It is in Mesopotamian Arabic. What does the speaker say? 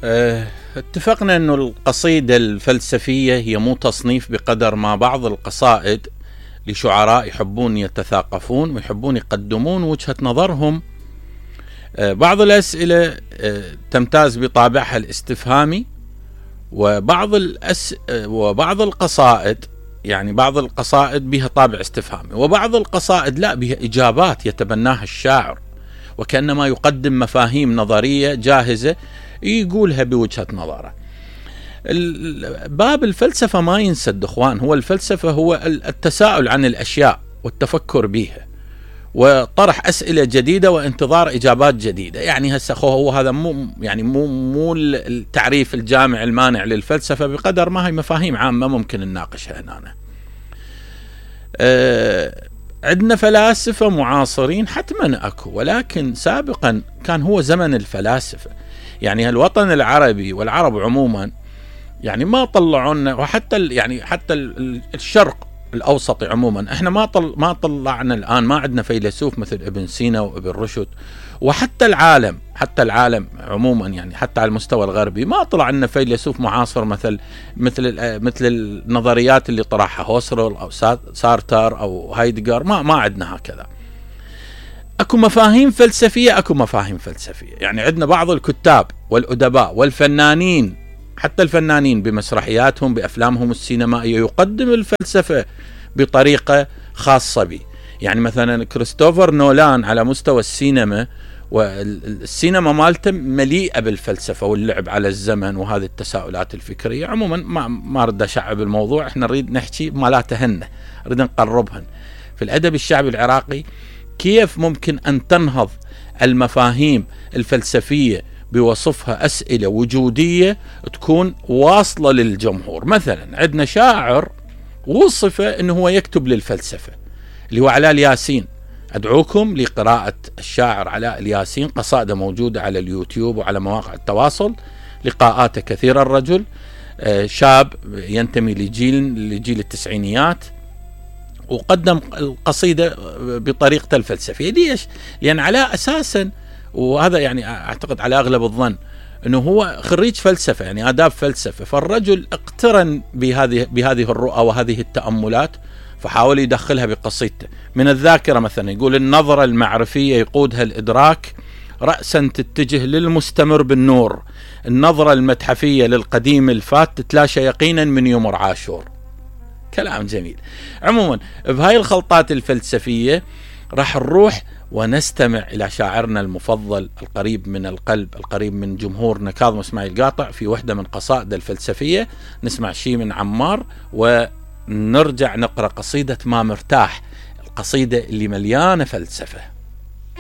اتفقنا أن القصيدة الفلسفية هي مو تصنيف بقدر ما بعض القصائد لشعراء يحبون يتثاقفون ويحبون يقدمون وجهة نظرهم. بعض الأسئلة تمتاز بطابعها الاستفهامي، وبعض القصائد يعني بعض القصائد بها طابع استفهامي، وبعض القصائد لا، بها إجابات يتبناها الشاعر وكأنما يقدم مفاهيم نظرية جاهزة يقولها بوجهة نظره. باب الفلسفة ما ينسد اخوان، هو الفلسفة هو التساؤل عن الأشياء والتفكر بها وطرح أسئلة جديدة وانتظار إجابات جديدة. يعني هسه هو هذا مو التعريف الجامع المانع للفلسفة بقدر ما هي مفاهيم عامة ممكن نناقشها هنا. عندنا فلاسفة معاصرين حتما أكو، ولكن سابقا كان هو زمن الفلاسفة. يعني الوطن العربي والعرب عموما يعني ما طلعونا، وحتى حتى الشرق الأوسط عموما احنا ما طلعنا الآن، ما عندنا فيلسوف مثل ابن سينا وابن رشد، وحتى العالم عموما يعني حتى على المستوى الغربي ما طلع لنا فيلسوف معاصر مثل النظريات اللي طرحها هوسرل أو سارتر أو هايدغر. ما عندنا هكذا. أكو مفاهيم فلسفية، يعني عندنا بعض الكتاب والأدباء والفنانين، حتى الفنانين بمسرحياتهم بأفلامهم السينمائية يقدم الفلسفة بطريقة خاصة به. يعني مثلا كريستوفر نولان على مستوى السينما، والسينما مالته مليئة بالفلسفة واللعب على الزمن وهذه التساؤلات الفكرية. عموما ما رد أشعب الموضوع، احنا نريد نحكي مالاتهن، نريد نقربهن. في الأدب الشعبي العراقي كيف ممكن أن تنهض المفاهيم الفلسفية بوصفها أسئلة وجودية تكون واصلة للجمهور. مثلا عندنا شاعر وصف أنه هو يكتب للفلسفة اللي هو علاء الياسين. أدعوكم لقراءة الشاعر علاء الياسين، قصائده موجودة على اليوتيوب وعلى مواقع التواصل، لقاءاته كثيرة. الرجل شاب ينتمي لجيل التسعينيات، وقدم القصيدة بطريقته الفلسفية. ليش؟ لأن علاء أساسا، وهذا يعني أعتقد على أغلب الظن أنه هو خريج فلسفة، يعني آداب فلسفة، فالرجل اقترن بهذه الرؤى وهذه التأملات، فحاول يدخلها بقصيدته. من الذاكرة مثلا يقول: النظرة المعرفية يقودها الإدراك، رأسا تتجه للمستمر بالنور، النظرة المتحفية للقديم الفات تتلاشى يقينا من يمر عاشور. كلام جميل. عموما بهاي الخلطات الفلسفية راح نروح ونستمع إلى شاعرنا المفضل القريب من القلب، القريب من جمهورنا، كاظم اسماعيل قاطع، في وحدة من قصائده الفلسفية. نسمع شيء من عمار ونرجع نقرأ قصيدة ما مرتاح، القصيدة اللي مليانة فلسفة.